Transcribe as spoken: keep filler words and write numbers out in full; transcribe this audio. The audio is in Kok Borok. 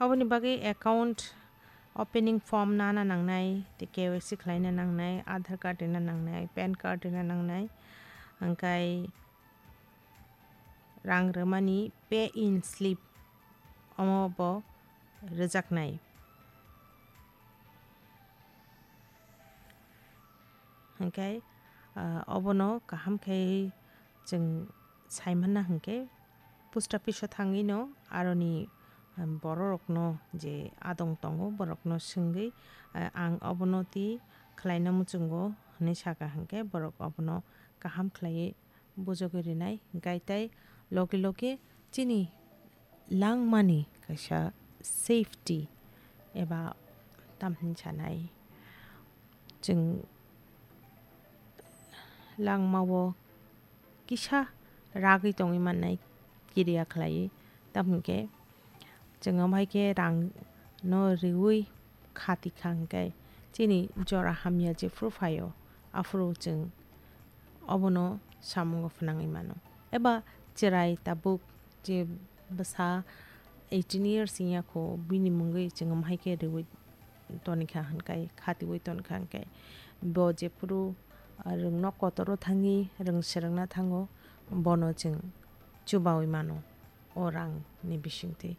Oboni bagwi account opening form nana nangnai, tei K Y C khlaina nangnai, Aadhaar card rwna nangnai, pan card rwna nangnai, hwnkhe rang rwmani pay in slip omo bo rwjaknai. Hwnkhe, ah, obono kaham khe chwng saimanna hwnkhe post office o thangwino aroni, um, bororokno je adong tongo borokno swngwi, ah, ang obono twi khlaina muchungo hwnwi saka hwnkhe borok obono kaham khlaiwi bujogwi rinai, hwnkhe tei logi logi chini langmani kaisa safety eba tamni sanai chwng langmao kisa ragwi tongwi mannai kiriya khlaiwi, tamhwnkhe chwng amhaikhe rangno riwi khati kha hwnkhe chini jora hamya jephru phaio aphuru chwng obono samungo phnangwi mano. Eba chwrai tabuk je bwsa eighteen years wngya kho, bini mungwi chwng amhaikhe riwi tonikha hwnkhe, khatiwi tonikha hwnkhe, bo jephuru, ah, rwngno kotoro thangwi rwng swrwngna thango, bono chwng chubawi mano o rangni bisingtwi.